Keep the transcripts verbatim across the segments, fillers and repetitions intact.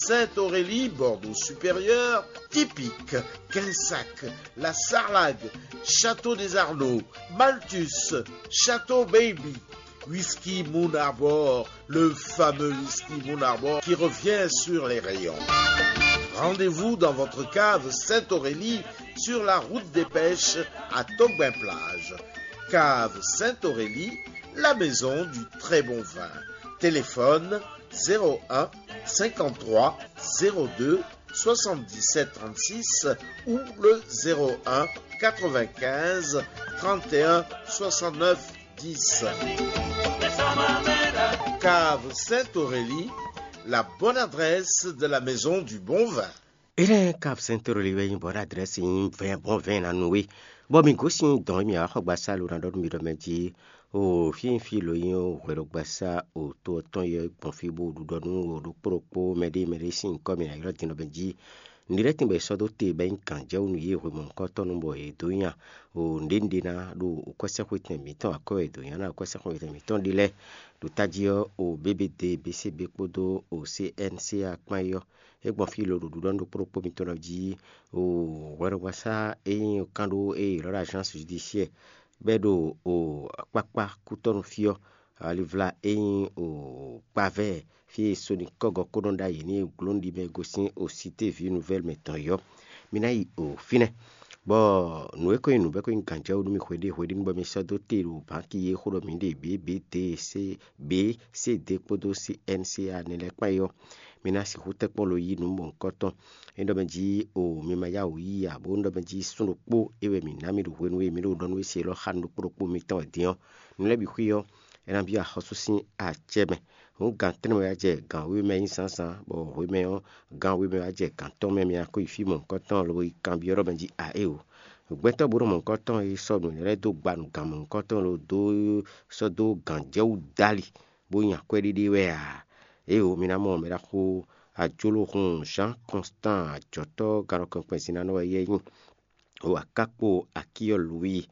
Sainte-Aurélie, Bordeaux-Supérieur, Tipique, Quinsac, la Sarlague, Château des Arnaud, Malthus, Château Baby, Whisky Moon Arbor, le fameux Whisky Moon Arbor qui revient sur les rayons. Rendez-vous dans votre cave Sainte-Aurélie sur la route des pêches à Togbin-Plage. Cave Sainte-Aurélie, la maison du très bon vin. Téléphone zéro un cinquante-trois zéro deux soixante-dix-sept trente-six ou le zéro un quatre-vingt-quinze trente et un soixante-neuf dix. Cave Sainte-Aurélie, la bonne adresse de la maison du bon vin. Ere Cave Sainte-Aurélie wɛ nyí bɔn adrɛsi nyí vɛn bɔn vɛn na nú we. Bɔ mi gosín dɔn mi axɔgbasa lo na ɖɔ nú mi ɖɔ mɛ jí o fí fí lo nyí o hwɛɖɔgbasa o to ɔtɔn yɛ gbɔn fí bó ɖuɖɔ nú o ɖokpó ɖokpó mɛɖé mɛɖé sín nyǐkɔ mi na ylɔ́ din ɖɔ mɛ jí. Nǔɖé tɛnbɔ è sɔ́ dó te bɔ é nyí gǎnjɛwú nú yě hwemɔnukɔtɔn nú bɔ yě dó nya o nǔɖé nǔɖé ná ɖo kwɛ́sɛ́xwetɛn mǐtɔn akwɛ́ e è dǒ nya ná kwɛ́sɛ́xwetɛn mǐtɔn ɖe lɛ́ɛ ɖo tají ɔ́ o B B D B C B kpódó o C N C A kpán é ɔ́. É gbɔn fí lo ɖo ɖuɖɔ nú ɖokpó ɖokpó mitɔn lɔ jí o hwɛɖɔgbasá e nyí kánɖó e è ylɔ́ ɖɔ agence judiciaire bɔ é ɖo o kpákpá kútɔ́nú fí ɔ́, alivla e nyí o kpavɛ́ fí e sonikɔ́gɔ kó nɔ ɖ'ayǐ n'i e gló nú ɖi mɛ e gosín o Cité Vie Nouvelle mɛ tɔn é ɔ́, mi ná yi o fínɛ́. Bɔ nǔ e ko nyí nǔ bɔ é ko nyí gǎnjɛwú nú mì hweɖé hweɖé bɔ mi sɔ́ dó te ɖo bǎnki e xó ɖɔ mǐ ɖe bǐ B D C B C D kpódó C N C A nɛ́ lɛ́ɛ kpán é ɔ́, mi ná sixú tɛ́nkpɔ́n lo yí nǔ mɔ̌hunkɔtɔn. É ɖɔ mɛ jí o mi ma yá wǔ yí ǎ, bó ɖɔ mɛ jí sún ɖokpó é wɛ mǐ ná mì ɖo hwenu e mǐ ɖo ɖɔ nú we se élɔ́ xá nú ɖokpó ɖokpó mitɔn wɛ din ɔ́, nǔ lɛ́ɛ bǐ xwí ɔ́, é ná byɔ́ axɔ́sú sín acɛ mɛ. Hǔn gǎn tɛ́nnɛ wɛ wá jɛ gǎn wěwe mɛ nyí zǎnzǎn, bɔ hwemɛ ɔ́, gǎn wěwe mɛ wá jɛ gǎn tɔn mɛ, mi ná kó yi fí mɔ̌hunkɔtɔn lobo yi kanbyɔ́ ɖɔ mɛ jí a éeǒ. Gbɛtɔ́ bó nɔ mɔ̌hunkɔtɔn e sɔ́ nǔ lɛ́ɛ dó gba nǔ gǎn mɔ̌hunkɔtɔn lo dó sɔ́ dó gǎnjɛwú dó ali, bó nyi akwɛ́ɖíɖí wɛ ǎ. Éeǒ, mi ná mɔ mɛ ɖaxó ajoloxun Jean Constant ajɔ̌tɔ́ galɔkɛnkpɛn sin ná nɔ wɛ yɛ nyí. O akákpo akíyɔ Louis,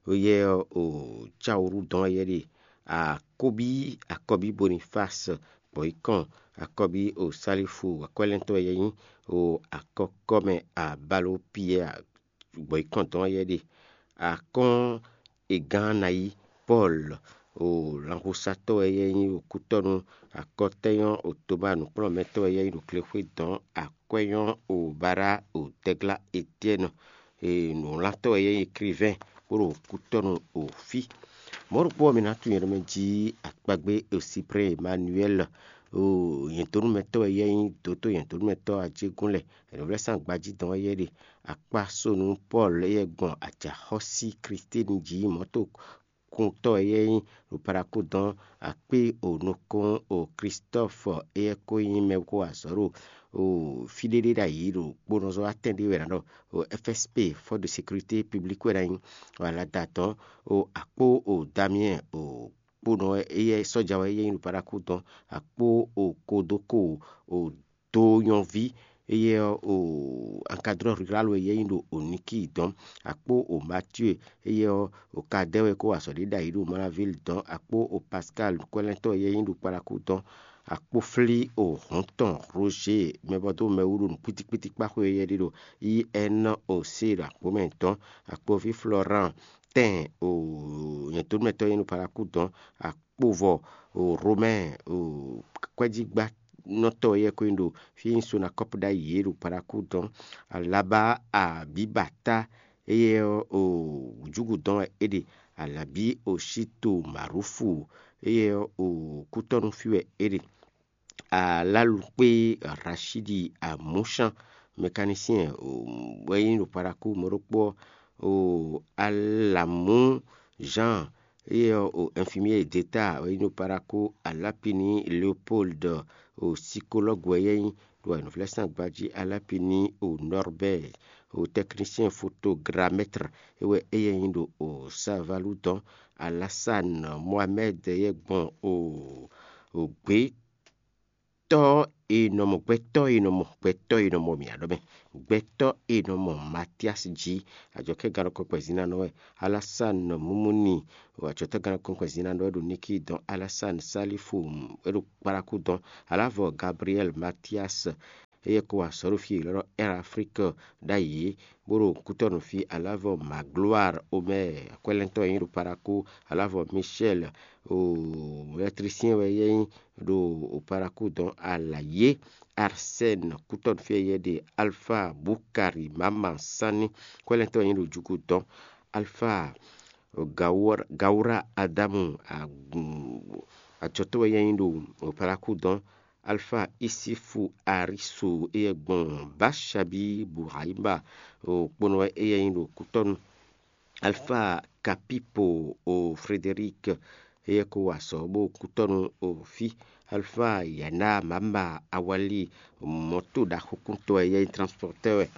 o yɛ o Cawuru dɔn yɛ ɖe akɔbí akɔbí Boniface bɔ yi kɔn akɔbí o Salifu akwɛ́lɛ́ntɔ́ yɛ nyí o akɔkɔmɛ abalo Pierre gbɔ̌yikɔ́ntɔn ɔ́ yɛ ɖe. Akɔ́n e gán ná yí Pɔ́lu, o lanxusatɔ́ wɛ yɛ nyí ɖo kútɔ́nú, akɔtɛ́nyɔ́ o Toma nǔkplɔ́nmɛtɔ́ wɛ yɛ nyí ɖo glexwé dɔn, akwɛ́nyɔ́ o Bara o Dɛglá Etyɛ́nu, e nǔwlantɔ́ wɛ yɛ nyí Eklivɛ́n bó ɖo kútɔ́nú o fí. Mɔ̌ ɖokpó ɔ́, mi ná tunwun nyɛ ɖɔ mɛ jí akpagbé o Siprɛ́ Emanuɛ́li, o nyɛ̌dónúmɛtɔ́ wɛ yɛ nyí dǒtó nyɛ̌dónúmɛtɔ́ ajégún lɛ́ɛ. Nǔvlɛ́sán gbají dɔn wɛ yɛ ɖe. Akpá sónú Pɔ́lu éyɛ́ gbɔn ajǎxɔ́sí Klítíni jí mɔ̌to kuntɔ́ wɛ yɛ nyí ɖo Parakú dɔn. Akpé o nukɔn o Klistɔ́fɔ éyɛ́ ko nyí mɛ ko wa azɔ̌ ɖo o fí ɖé ɖé ɖ'ayǐ ɖo kponɔzɔ́ atɛn ɖé wɛ ná ɖɔ o F S P, Force de Sécurité Publique wɛ ná nyí, o alada dɔn o akpó o Damiyɛn o kponɔ éyɛ́ sɔ́ja wɛ éyɛ́ nyí ɖo Parakú dɔn. Akpó o Kodoko o do nyɔví éyɛ́ ɔ́, o ankadrɔ́ rurál wɛ yɛ nyí ɖo Oníki dɔn. Akpó o Matíe éyɛ́ ɔ́, o Kadɛ́ wɛ kó wa azɔ̌ ɖé ɖ'ayǐ ɖo Malavili dɔn. Akpó o Paskal kwɛ́lɛ́ntɔ́ yɛ nyí ɖo Kparakú dɔn. Akpó flí o hɔn tɔn Roger mɛbɔdó mɛwú ɖo nǔkpítíkpítí kpáxwé yɛ ɖé ɖo I N O C ɖo akpó mɛ dɔn. Akpóví Florent tɛn o nyɛ̌tónúmɛtɔ́ yɛ nyí ɖo Parakú dɔn. Akpovɔ o Romɛ́ɛ o kwɛ́jígbánɔtɔ́ yɛ ko nyí ɖo fí e nyí Sonakɔ́pu ɖ'ayǐ é ɖo Parakú dɔn. Alabá Abǐbata éyɛ́ ɔ́ o júgu dɔn wɛ é ɖe. Alabí o Shito Marufu éyɛ́ ɔ́ o kútɔ́nú fí wɛ é ɖe. Alálukpé Rashidi Amúsán mɛkanisíɛn wɛ nyí ɖo Parakú mɔ̌ ɖokpó ɔ́, o Alamú Jean éyɛ́ ɔ́ o infirmier d'État wɛ nyí ɖo Parakú. Alápini Léopold o psychologue wɛ yɛ nyí ɖo anɔvlɛ́sán gbají. Alápini o Norbert o technicien photogramètre é wɛ éyɛ́ nyí ɖo o Savalu dɔn. Alassane Mohamed yɛ gbɔn o o gbě tɔ́ È nɔ mɔ gbɛtɔ́ e nɔ mɔ gbɛtɔ́ e nɔ mɔ mǐ ǎ ɖɔ mɛ. Gbɛtɔ́ e nɔ mɔ Matíasi jí, ajɔ̌kɛ́gannɔkɔn kpɛzínánɔ wɛ. Alásán Mumuni, ajɔ̌kɛ́gannɔkɔn kpɛzínánɔ wɛ ɖo Níki dɔn. Alásán Salifu, é ɖo Kpalákú dɔn. Alavɔ Gabriɛl Matíasi, éyɛ́ ko wa azɔ̌ ɖo fí e è ylɔ́ ɖɔ Air Afrique ɖ'ayǐ é, bó ɖo kútɔ́nú fí. Alavɔ Magloire Omer, akwɛ́lɛ́ntɔ́ e nyí ɖo Palákú. Alavɔ Michel, o électricien wɛ éyɛ́ nyí ɖo Palákú dɔn. Alayé Arsène, kútɔ́nú fí e éyɛ́ ɖe. Alpha Bukari Mama Sani, akwɛ́lɛ́ntɔ́ e nyí ɖo Jugu dɔn. Alpha Gaura Adamu, ajɔtɔ́ wɛ éyɛ́ nyí ɖo Palákú dɔn. Alfa Isifu Arisu, éyɛ́ gbɔn Baṣabi Buhaima, kponɔ wɛ éyɛ́ nyí ɖo kútɔ́nu. Alfa Kapipo, o Frederic, éyɛ́ ko wa azɔ̌ bó kútɔ́nu o fí. Alfa Yana Mama Awali, mɔ̌to ɖaxókúntɔ́ wɛ éyɛ́ nyí transpɔtɛ́ wɛ.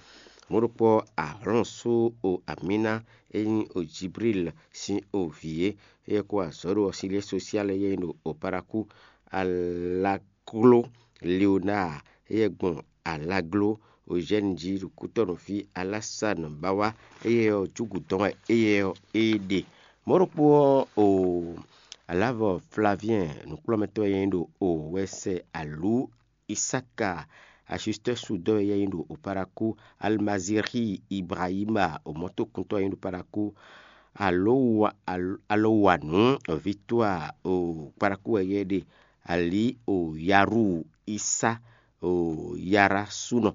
Mɔ̌ ɖokpó ɔ́, Ahlɔ́ɔnsú o Amina, é nyí o Jibril sín o vǐ é, éyɛ́ ko wa azɔ̌ ɖo ɔ́ sín lɛ́ sosial éyɛ́ nyí ɖo o Palákú. Ala Kló Leonáa, éyɛ́ gbɔn Alagló Ozɛ́ni jí ɖo kútɔ́nú fí. Alásanu Báwá, éyɛ́ ɔ́, júgǔ tɔn wɛ éyɛ́ ɔ́ é ɖe. Mɔ̌ ɖokpó ɔ́, o Alavɔ Flaviɛn, nǔkplɔ́nmɛtɔ́ e nyí ɖo o wɛsɛ alǔ Isáka Asustɛ́su dɔ́ e éyɛ́ nyí ɖo Palákú. Almazixi Ibrahima, o mɔ̌tokuntɔ́ e nyí ɖo Palákú. Alowanu Vitua, o Palákú wɛ éyɛ́ ɖe. Ali o Yaru Isa o Yara súnɔ,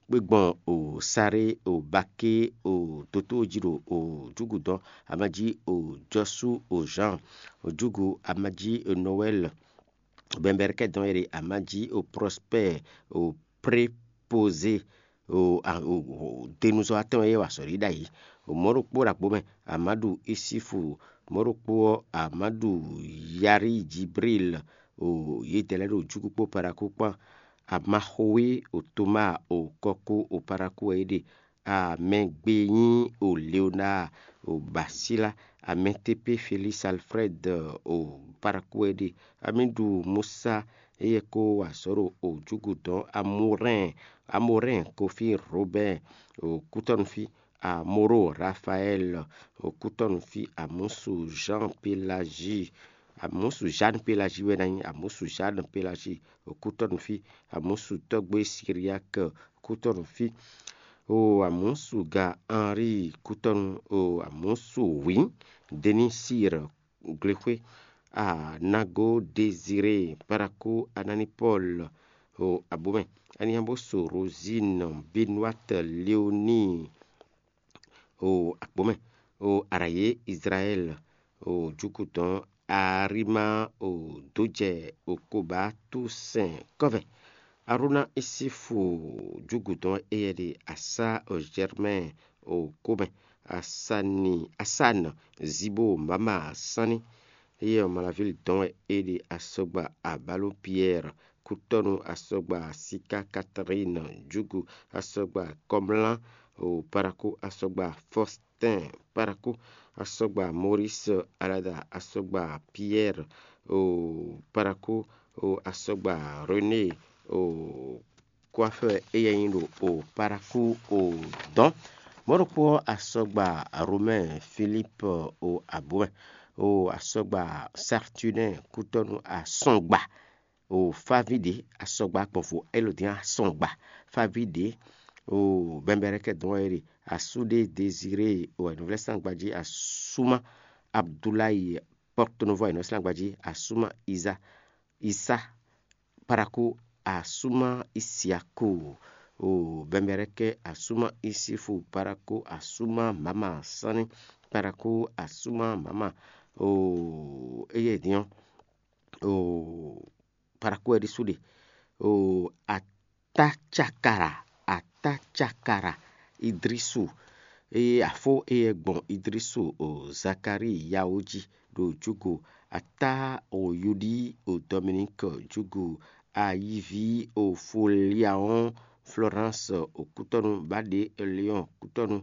kpé gbɔn o Saré o Baké o dótó jí ɖo o júgǔdɔn, amají o Jɔsú o Zǎn, o júgu amají o Nɔwɛ́l, bɛ̌nbɛ́rɛ́kɛ́dɔn e ɖe amají o Prɔspɛ́ɛ o Prépozé, denuzɔ́watɔ́ e wa azɔ̌ ɖi ɖ'ayǐ. Mɔ̌ ɖokpó ɖo agbo mɛ, Amadu Isifu. Mɔ̌ ɖokpó ɔ́, Amadu Yari Jibril. Yědɛɛ lɛ́ɛ ɖo júkú kpó Paɖakú kpán. Amaxowé o Tomáa o Kɔkó o Paɖakú wɛ é ɖe. Amɛgbe nyí o Leonáa o Basíla. Amɛtepé Felísi Alfrɛ́d o Paɖakú wɛ é ɖe. Amíɖu Musa, éyɛ́ ko wa azɔ̌ ɖo o júgǔdɔn. Amorɛ́n, Amorɛ́n Kofí Robɛ́ɛ o kútɔ́nú fí. Amoro Rafaɛ́l o kútɔ́nú fí. Amúsu Zǎn Pelazi, Amúsu Zǎn Pelazi wɛ ná nyí. Amúsu Zǎn Pelazi o kútɔ́nú fí. Amúsu tɔ́gbé Siriak o kútɔ́nú fí. O Amúsu ga Anri kútɔ́nú. O Amúsu wǐ Denísir Glexwé. Anago Deziré Paɖakú Ananipɔ́l o abomɛ. Aniyaboso Rozín Benwát Leoní o akpɔ̌mɛ. O Arayě Izlayɛ́l o jukutɔn. Arímá o dǒjɛ o koba tú sɛn kɔ́vɛ. Aróná Isífu júgǔdɔn éyɛ́ ɖe. Asá o Jɛrmɛ́ɛ o kómɛ. Asani Asán Zibo Mama Sánní. Éyɛ́ ɔ́, Malavíli dɔn wɛ é ɖe. Asɔgba Abaló Piyɛ́ɛ kútɔ́nú. Asɔgba Siká Katalín júgu. Asɔgba Kɔmlá o Paɖakú. Asɔgba Fɔstɛ́n Paɖakú. Asɔgba Moris Alada. Asɔgba Piyɛ́ɛ o Paɖakú. O Asɔgba René o kwafɛ éyɛ́ nyí ɖo o Paɖakú o dɔn. Mɔ̌ ɖokpó ɔ́, asɔgba Romɛ́ɛ Filíp o abomɛ. O asɔgba Satunɛ́ɛ kútɔ́nú asɔgba o fáví ɖě. Asɔgba gbɔn vo Elodin asɔgba fáví ɖě. O bɛnbɛrɛkɛ dɔn wɛ é ɖe. Asúɖé Dezirée o ɛnuvlɛ́sangba jí. Asúmá Abdulayi Pɔ́ktonuvɔ ɛnuvlɛ́sangba jí. Asúmá Iza Isá Paɖakú. Asúmá Isiaku o bɛnbɛrɛkɛ. Asúmá Isifu Paɖakú. Asúmá Mama Sánní Paɖakú. Asúmá Mama o éyɛ́ din ɔ́ o Paɖakú wɛ ɖésú ɖe. O Atácakara, Atácakara Idrisu. Eye afó éyɛ́ gbɔn Idrisu o Zakalíi yawo jí ɖo júgo. Atá o Yudí o Dominík júgo. Ayiví o Foliawɔn Florence o kútɔ́nú. Baɖě Leon kútɔ́nú.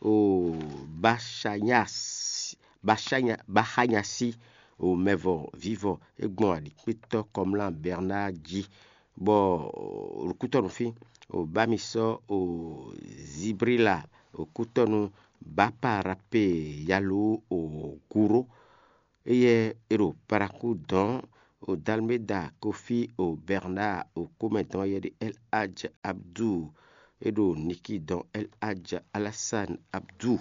O Baxanyas Baxanyasi o mɛvɔ vívɔ. É gbɔn aɖǐkpétɔ́ Kɔmlá Bernard jí. bɔ ɖo kútɔ́nú fí, o bá mi sɔ́ o Zibrila, o kútɔ́nú Báparape yalú o Guro, éyɛ́ é ɖo Paraku dɔn, o Dalméda Kofi, o Bernard, o Komɛ dɔn éyɛ́ ɖe El Hadj Abdu, é ɖo Niki dɔn El Hadj Alassane Abdu,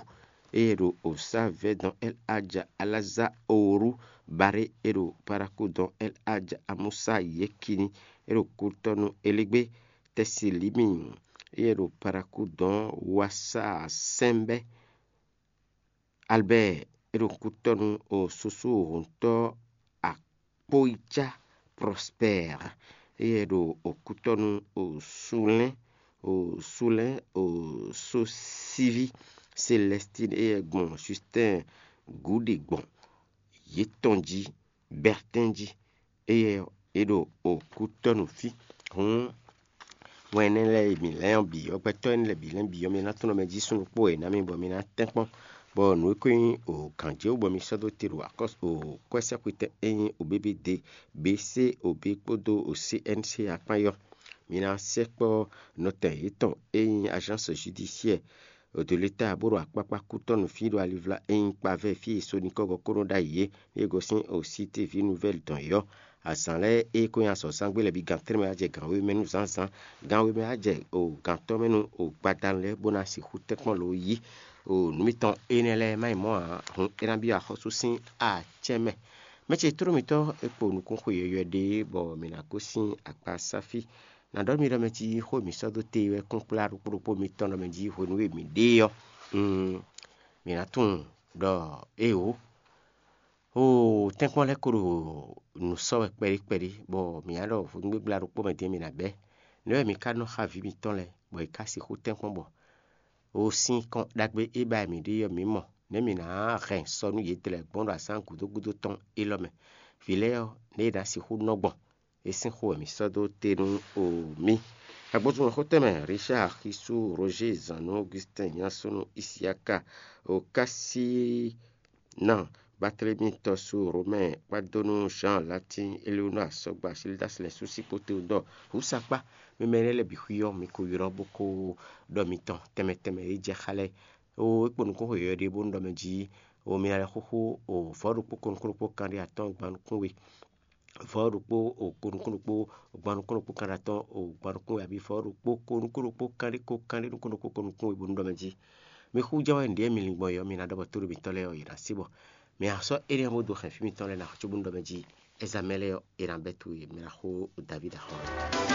éyɛ́ ɖo Osavɛ dɔn El Hadj Alaza Oru, Baré é ɖo Paraku dɔn El Hadj Amusa Yekini, é ɖo kútɔ́nú Elégbé, Tɛsilimi, éyɛ́ ɖo Paraku dɔn Wasa Sɛnbɛ, Albert é ɖo kútɔ́nú o Susu Hɔntɔ́ Akpóyícá Prosper, éyɛ́ ɖo o kútɔ́nú o Sulɛ́n, o Sulɛ́n o Sosíví Celestine, éyɛ́ gbɔn Justin Gúɖi gbɔn yě tɔn jí, Bertin jí, éyɛ́ é ɖo o kútɔ́nú fí. Hǔn wɛn énɛ́ lɛ́ɛ e mǐ lɛ́n ɔ́ bǐ ɔ́, gbɛtɔ́ énɛ́ lɛ́ɛ bǐ lɛ́n bǐ ɔ́, mi ná tunwun mɛ jí súnnu kpó e ná mi bɔ mi ná tɛ́nkpɔ́n, bɔ nǔ e ko nyí o gǎnjéwú bɔ mi sɔ́ dó te ɖo akɔ́ o kwɛ́sɛ́xwetɛn e nyí o B B D, B C, o B kpódó o C N C akpán yɔ́. Mi ná sɛkpɔ́ nɔtɛn yětɔn e nyí Agence Judiciaire de l'État bó ɖo akpákpá kútɔ́nú fí ɖo alivla e nyí kpavɛ́ fí e Sonikɔ́gɔ kó nɔ ɖ'ayǐ é, e gosín o Cité Ville Nouvelle dɔn yɔ́. Azǎn lɛ́ɛ e ko nyi azɔ̌zán gbe lɛ́ɛ bǐ gǎn tɛ́nmɛ wá jɛ gǎn wěmɛ nú zǎnzǎn, gǎn wěmɛ wá jɛ o gǎntɔ́ mɛ nú o gbadanu lɛ́ɛ bó ná sixú tɛ́nkpɔ́n lo yí o nǔ mitɔn énɛ́ lɛ́ɛ má nyí mɔ̌ ǎ, hǔn é ná byɔ́ axɔ́sú sín acɛ́n mɛ. Mɛ ce tlóló mitɔ́ e kpo nukúnxwe yɔywɛ ɖe é, bɔ mǐ ná gosín akpa sáfí. Nǎ ɖɔ nú mi ɖɔ mɛ jí xó e mǐ sɔ́ dó te wɛ kún kplá ɖokpó ɖokpó mitɔn ɖɔ mɛ jí hwenu e mǐ ɖe ɔ́, mm, mǐ ná tunwun ɖɔ éeǒ. Oo, tɛ́nkpɔ́n lɛ́ɛ ko ɖo nǔ sɔ́ wɛ kpɛɖé kpɛɖé, bɔ mǐ ná ɖɔ hwenu gbégbla ɖokpó mɛ din mǐ ná bɛ́. Nɛ̌ wɛ mǐ ka nɔ xá vǐ mǐtɔn lɛ́ɛ, bɔ yě ká sixú tɛ́nkpɔ́n bɔ? O sín kɔn ɖagbe e ba mǐ ɖe ɔ́, mǐ mɔ nɛ̌ mǐ ná hɛn sɔ nú yědɛɛ lɛ́ɛ gbɔn ɖo azǎn gǔdo gúdo tɔn élɔ́ mɛ. Vǐ lɛ́ɛ ɔ́, nɛ̌ yě ná sixú nɔ gbɔn? É sín xó wɛ mǐ sɔ́ dó te nú o mì. Agbózúnmɔxótɛn mɛ Richard Xisú, Roger Zannú, Augustin Nyansonu, Isiaka, o Kasina, Barthélemy Tɔsu, Romain Kpadonu, Jean Latin, Eleonore Asɔgba, Silidas Lɛsu, Sikpote Dɔ, Husakpa, mi mɛ lɛ́ɛ lɛ́ɛ bǐ xwí ɔ́, mi ko ylɔ́ bó ko ɖɔ mitɔn tɛnmɛ tɛnmɛ e jɛ xá lɛ́ɛ. O é kpo nukún xo yɔ̌yɔ́ ɖé bónú ɖɔ mɛ jí o mi ná lɛ́ xóxó o vɔ̌ ɖokpó ko nukún ɖokpó kanɖé atɔ́ɔ́n gban nukún we, vɔ̌ ɖokpó o ko nukún ɖokpó gban nukún ɖokpó kanɖé atɔ́ɔ́n o gban nukún we, abǐ vɔ̌ ɖokpó ko nukún ɖokpó kanɖé ko kanɖé nukún ɖokpó ko nukún we bónú ɖɔ mɛ jí. Mi xú jɛ wɛ nǔɖé mi lin gbɔn yɔ, mi ná ɖɔ bɔ tóɖó mitɔn lɛ́ɛ ɔ́, yě ná sí bɔ mi ná sɔ́ énɛ́ ɔ́ bó dó hɛn fí mitɔn lɛ́ɛ ná xó bónú ɖɔ mɛ jí. Ezamɛ lɛ́ɛ ɔ́, è nǎ bɛ́ towe, mi ná xó Davíd axɔ́.